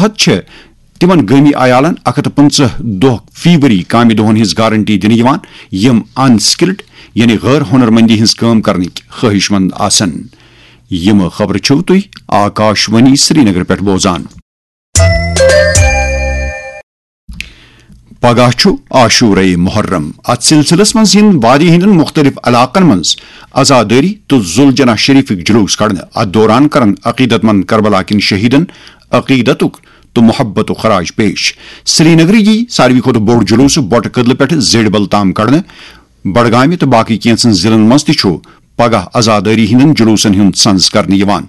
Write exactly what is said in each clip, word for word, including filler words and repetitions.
تحت چھِ تِمن گٲمی عیالن اکھ ہتھ تہٕ پٕنٛژٕہ دۄہ فی ؤری کامہِ دۄہن ہٕنٛز گارنٹی دِنہٕ یِوان، یِم ان سکلڈ یعنی غٲر ہُنرمندی ہٕنٛز کٲم کرنٕکۍ خٲہِش مند آسن۔ یِم خبرٕ چھِو تُہۍ آکاش وانی سرینگر پٮ۪ٹھ بوزان۔ پگاہ چھُ عاشورہ محرم۔ اتھ سلسلس منٛز یِن وادی ہٕنٛدٮ۪ن مُختٔلِف علاقن منٛز عزادٲری تہٕ ذوالجناح شریفٕکۍ جلوس کڑنہٕ۔ اتھ دوران کرن عقیدت مند کربلا کٮ۪ن شہیدن عقیدتُک تہٕ محبتُک خراج پیش۔ سرینگرٕ یی ساروی کھۄتہٕ بوٚڑ جلوس بۄٹہٕ کدلہٕ پٮ۪ٹھٕ زیڈِ بل تام کڑنہٕ۔ بڈگامہِ تہٕ باقٕے کینٛژن ضلعن منٛز تہِ چھُ پگاہ عزادٲری ہٕنٛدٮ۪ن جلوسن ہُنٛد سنز کرنہٕ یِوان۔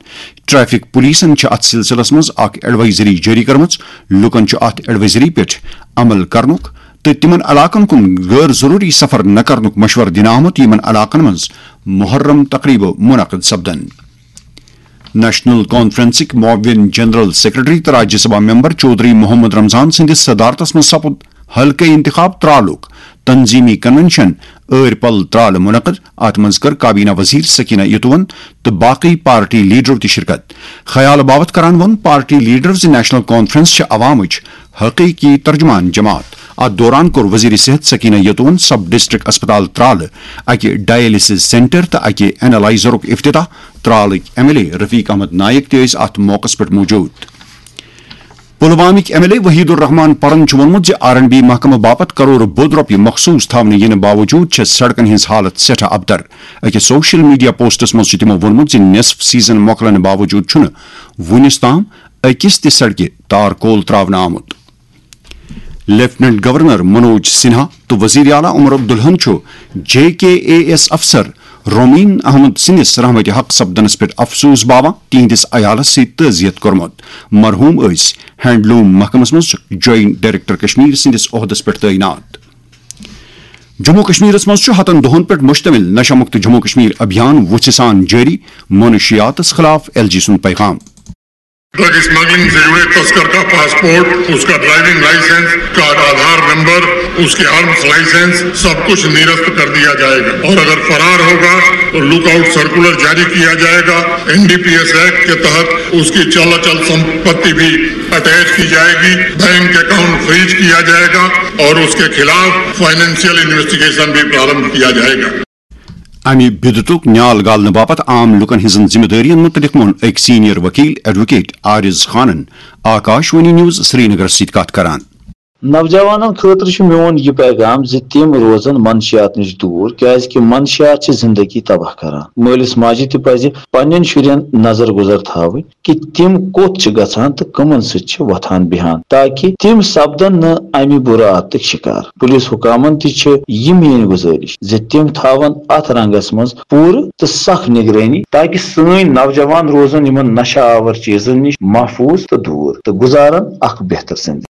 ٹریفک پولیسن چھِ اتھ سلسلس منٛز اکھ ایڈوائزری جٲری کٔرمٕژ۔ لوٗکن چھُ اتھ ایڈوائزری پٮ۪ٹھ عمل کرنُک تہٕ تِمن علاقن کُن غٲر ضروٗری سفر نہ کرنُک مشورٕ دِنہٕ آمُت، یِمن علاقن منٛز محرم تقریبہٕ منعقد سپدن۔ نیشنل کانفرنسٕکۍ معاون جنرل سیکرٹری تہٕ راجیہ سبھا ممبر چودھری محمد رمضان سٕنٛدِس صدارتس منٛز سپُد حلقہٕ انتخاب ترالُک تنظیمی کنونشن ٲرۍ پل ترالہٕ منعقد۔ اتھ منٛز کٔر کابینہ وزیر سکینہ یتون تہٕ باقٕے پارٹی لیڈرو تہِ شرکت۔ خیال باوتھ کران ووٚن پارٹی لیڈرو زِ نیشنل کانفرنس چھِ عوامٕچ حقیقی ترجمان جماعت۔ اتھ دوران کوٚر وزیر صحت سکینہ یتون سب ڈسٹرکٹ اسپتال ترالہٕ اکہِ ڈائلسس سینٹر تہٕ اکہِ اینالائزرُک افتتاح۔ ترالٕکۍ ایم ایل اے رفیق احمد نائک تہِ ٲسۍ اتھ موقعس پٮ۪ٹھ موجود۔ پلوامٕکۍ ایم ایل اے وحید الرحمان پرن چھُ ووٚنمُت زِ آر اینڈ بی محکمہٕ باپتھ کرور بود رۄپیہِ مخصوص تھاونہٕ یِنہٕ باوجوٗد چھےٚ سڑکن ہٕنٛز حالت سٮ۪ٹھاہ ابتر۔ أکِس سوشل میڈیا پوسٹس منٛز چھُ تِمو ووٚنمُت زِ نصف سیزن مۄکلنہٕ باوجوٗد چھُنہٕ وُنِس تام أکِس تہِ سڑکہِ تار کول ترٛاونہٕ آمُت۔ لیفٹیننٹ گورنر منوج سنہا تہٕ وزیر اعلیٰ عمر عبداللہن چھُ جے کے اے ایس افسر رومین احمد سٕنٛدِس رحمتِ حق سپدنس پٮ۪ٹھ افسوس باوان تِہنٛدِس عیالس سۭتۍ تعزیت کوٚرمُت۔ مرحوم ٲسۍ ہینڈلوم محکمس منٛز جوائنٹ ڈائریکٹر کشمیر سٕنٛدِس عہدس پٮ۪ٹھ تعینات۔ جموں کشمیرس منٛز چھُ ہتن دۄہن پٮ۪ٹھ مشتمل نشہ مکت جموں کشمیر ابھیان وُژھِ سان جٲری، منشیاتس خلاف ایل جی سُنٛد پیغام۔ ڈرگ اسمگلنگ سے جڑے تسکر کا پاسپورٹ، اس کا ڈرائیونگ لائسنس، اس کا آدھار نمبر، اس کے آرمز لائسنس، سب کچھ نرست کر دیا جائے گا اور اگر فرار ہوگا تو لک آؤٹ سرکولر جاری کیا جائے گا۔ N D P S act کے تحت اس کی چل اچل سمپتی بھی اٹیچ کی جائے گی، بینک اکاؤنٹ فریز کیا جائے گا اور اس کے خلاف فائنینشیل انویسٹیگیشن بھی پرارمبھ کیا جائے گا۔ امہِ بدعتُک نیال گالنہٕ باپتھ عام لوٗکن ہٕنٛزن ذمہٕ دٲرین مُتعلق ووٚن أکۍ سینئر وکیل ایڈووکیٹ عارض خانن آکاش وانی نیوز سرینگرس سۭتۍ کتھ کران۔ نوجوانن خٲطرٕ چھُ میون یہِ پیغام زِ تِم روزن منشیات نِش دوٗر، کیازِ کہِ منشیات چھِ زندگی تباہ کران۔ مٲلِس ماجہِ تہِ پزِ پننٮ۪ن شُرٮ۪ن نظر گُزر تھاوٕنۍ کہِ تِم کوٚت چھِ گژھان تہٕ کٕمن سۭتۍ چھِ وۄتھان بیہان، تاکہِ تِم سپدن نہٕ امہِ بُرٕ عادتٕکۍ شکار۔ پُلیٖس حکامن تہِ چھِ یہِ میٲنۍ گُزٲرِش زِ تِم تھاون اتھ رنگس منٛز پوٗرٕ تہٕ سخ نگرٲنی، تاکہِ سٲنۍ نوجوان روزن یِمن نشہ آور چیزن نِش محفوظ تہٕ دوٗر تہٕ گُزارن اکھ بہتر زندگی۔